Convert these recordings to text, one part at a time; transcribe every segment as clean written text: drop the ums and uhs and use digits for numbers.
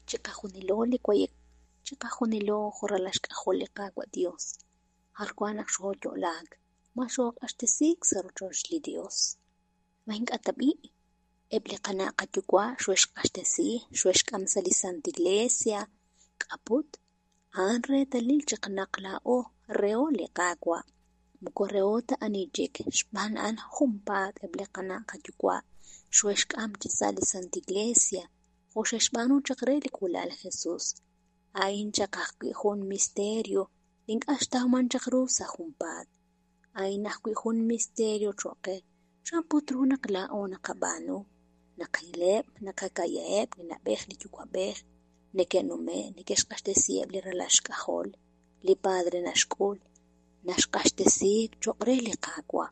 Chiqajunilo li wayek, chiqajunilo jo' ralal xk'ajol li Qaawa' Dios, jar wan naq xooyo'laak, ma xooq'axtesiik sa' rochoch li Dios? Ma ink'a' ta b'i'? Eb' li qana' qayuwa' xohe'xq'axtesi, xohe'xk'am sa' li Santa Iglesia. K'a' put? A'an reetalil chaq naq laa'o reho li Qaawa', moko reho ta ani chik, xb'aan a'an junpaat eb' li qana' qayuwa' xohe'xk'am chi sa' li Santa Iglesia, jo' xe'xb'aanu chaq re li k'uula'al Jesus. A'in chaq ajwi' jun misterio li ink'a' xtawman chaq ru sa' junpaat. A'in ajwi' jun misterio choq' qe. Chan put ru naq laa'o naqab'aanu? Naqileb', naqaka'yaheb' li na'b'ej li yuwa'b'ej, neke'nume', neke'xq'axtesiheb' li ralal xk'ajol. Li padre naxk'ul, naxq'axtesi choq' re li Qaawa'.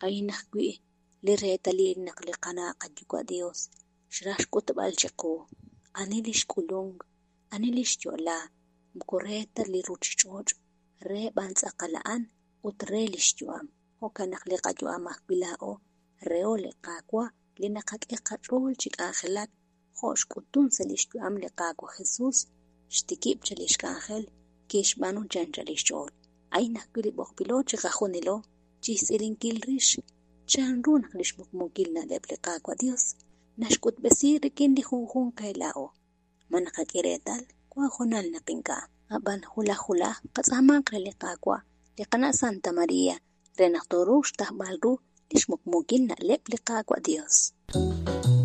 A'in ajwi' li reetalil naq li qana' qayuwa' Dios xraj xk'utb'al chiqu ani li xk'ulunk, ani li xyo'la, moko re ta li ruchich'och', re b'an tz'aqal a'an ut re lix yu'am. Jo'kan naq li qayu'am ajwi' laa'o reho li Qaawa' li naqak'e qach'ool chi k'anjelak jo' xk'utun sa' lix yu'am li Qaawa' Jesus, xtikib' cha lix k'anjel, kixb'aanu chi anchal lix ch'ool. A'in ajwi' li b'oqb'ilo chiqajunilo chixtz'ilinkil rix chan ru naq lix muqmuukil na'leb' li Qaawa' Dios naxk'utb'esi rik'in li junjunq qe laa'o. Ma naqak'e reetal? Wan hoonal naq ink'a'. Ab'an wulaj wulaj qatz'aamanq re li Qaawa', li qana' Santa Maria, re naq tooruuq xtawb'al ru lix muqmuukil na'leb' li Qaawa' Dios.